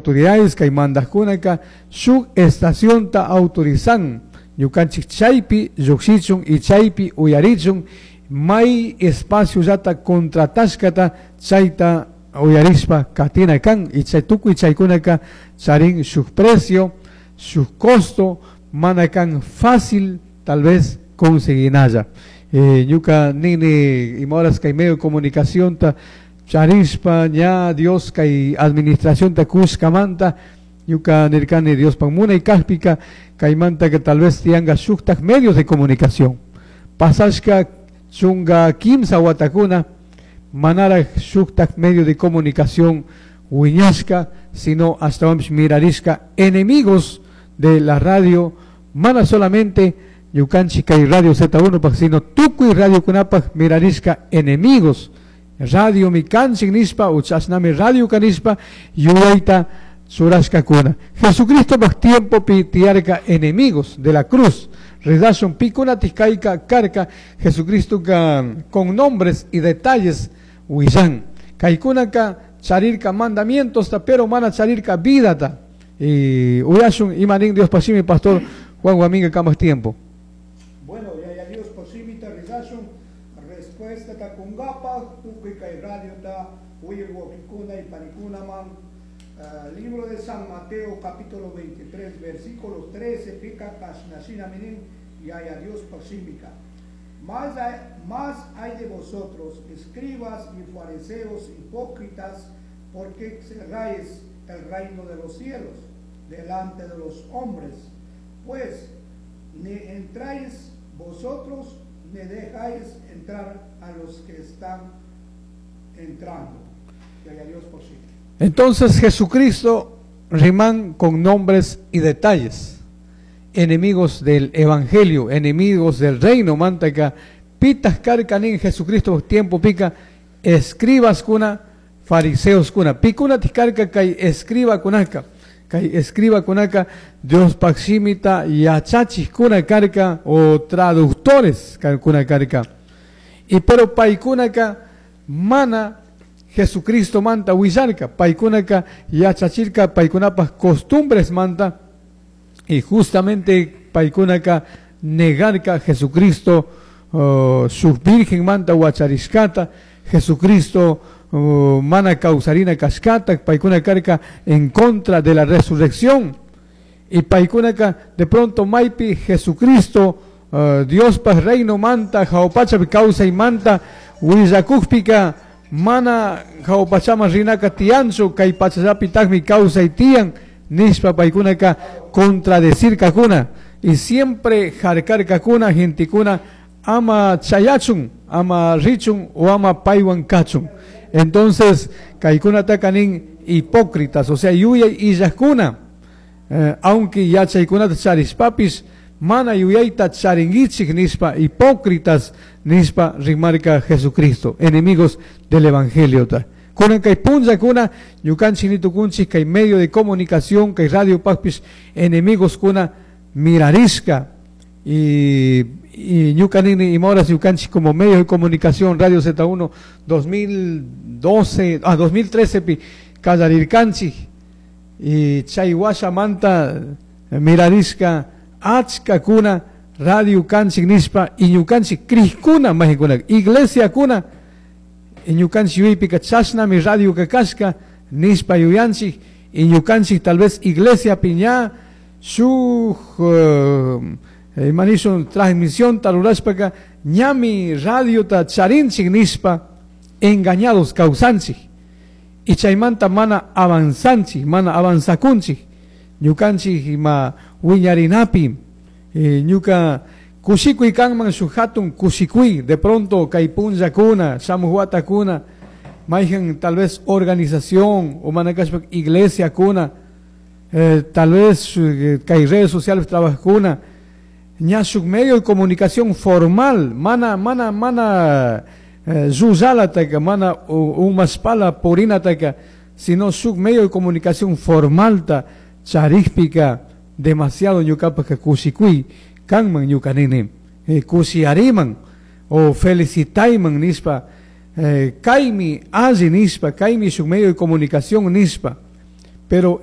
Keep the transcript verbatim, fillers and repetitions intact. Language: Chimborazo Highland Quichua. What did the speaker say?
Autoridades kay mandajkunaka shuk estacionta autorizan ñukanchik chaypi llukshichun y chaypi uyarichun, may espacio llata contratashkata chayta uyarishpa katina kan. Y chay tukuy chaykunaka charin shuk precio, shuk costo, mana kan fácil tal vez conseguinalla. eh, ñuka nini ima horas kay medio de comunicación ta charishpa ña Dios kay administración ta kushkamanta, ñuka nirkani Diospak munay kajpika kaymanta que tal vez tiyanka shuktak medios de comunicación. Pasashka chunka kimsa watakuna manaraj shuktak medio de comunicación wiñashka, sino hasta mirarishka enemigos de la radio, mana solamente ñukanchik kay Radio Z uno pak, sino tukuy radio kunapak mirarishka enemigos. Radio mi kanchik nishpa o chashnami radio kanishpa yuyayta churashkakuna. Jesucristo pak tiempo pi tiyarka enemigos de la cruz. Ridashun pikunatik kayka karka. Jesucristo ka con nombres y detalles willan. Kaykunaka charirka mandamientos ta, pero mana charirka vida ta. Y uyashun imanin Dios pashimi, pastor Juan Guaminga, kamas tiempo. Bueno, Yaya Dios shimita ridashun respuesta ta kungapaj tukuy kay radio ta uyaj wawkikuna y panikunaman. Uh, libro de San Mateo, capítulo veintitrés, versículo trece, pica kashnashina minin Yaya Dios shimika. Más hay, más hay de vosotros, escribas y fariseos hipócritas, porque cerráis el reino de los cielos delante de los hombres, pues ni entráis vosotros ni dejáis entrar a los que están entrando. Y Dios por sí. Entonces Jesucristo riman con nombres y detalles. Enemigos del evangelio, enemigos del reino, mantaka, pitas karkanin Jesucristo tiempo pica, escribas kuna, fariseos kuna, pikuna tiskarka kay escriba kunaka, kay escriba kunaka, Dios shimita yachachij kuna karka o traductores kuna karka. Y pero paykunaka mana Jesucristo manta willarka, paykunaka yachachirka paykunapaj costumbres manta, y justamente paykunaka negarka Jesucristo uh, su virgen manta huacharishkata, Jesucristo uh, mana kawsarina kashkata, paykuna karka en contra de la resurrección. Y paykunaka de pronto maypi Jesucristo uh, Dios pa reino manta jahua kawsay manta willakukpika mana jahua pachaman rinaka tiyanchu, kay pachallapitakmi kawsay tiyan nishpa paykunaka contradecir kakuna y siempre jarkar kakuna gentekuna ama chayachun, ama richun o ama paywan kachun. Entonces kaykunataka nin hipócritas, o sea, yuyay illajkuna, eh, aunque yachaykunata charishpapis mana yuyayta charinguichik nishpa, hipócritas nishpa rimarka Jesucristo, enemigos del evangelio ta. Kunan kay punllakuna ñukanchik nitukunchik kay medio de comunicación, kay radio pakpis enemigos kuna mirarishka. Y, y ñuka nini ima horas ñukanchik como medio de comunicación Radio Z uno dos mil doce, ah, dos mil trece pi kallarirkanchik y chay washamanta mirarishka achka kuna radio kanchik nishpa y ñukanchik crijkuna mayqankuna iglesia kuna y ñukanchik yuyaypika chashnami radio kashka nishpa yuyanchik y ñukanchik tal vez iglesia piña shuk uh, imanishun transmisión rurashpaka ñami radiota charinchik nishpa engañados kawsanchik y chaymanta mana avanzanchik, mana avanzakunchik ñukanchik ima wiñarinapi. eh, ñuka kushikuy kanman shuk hatun kushikuy de pronto kay punllakuna shamuj watakuna mayqan tal vez organización o mana kashpa iglesia kuna, eh, tal vez eh, kay redes sociales trabajkuna ña shuk medio de comunicación formal mana mana mana eh, llullalataka mana umashpala purinataka, sino shuk medio de comunicación formalta charikpika demasiado ñukapaka kushikuy kanman. Ñuka nini eh, kushiyariman o felicitayman nishpa, eh, kaymi alli nishpa, kaymi shuk medio de comunicación nishpa, pero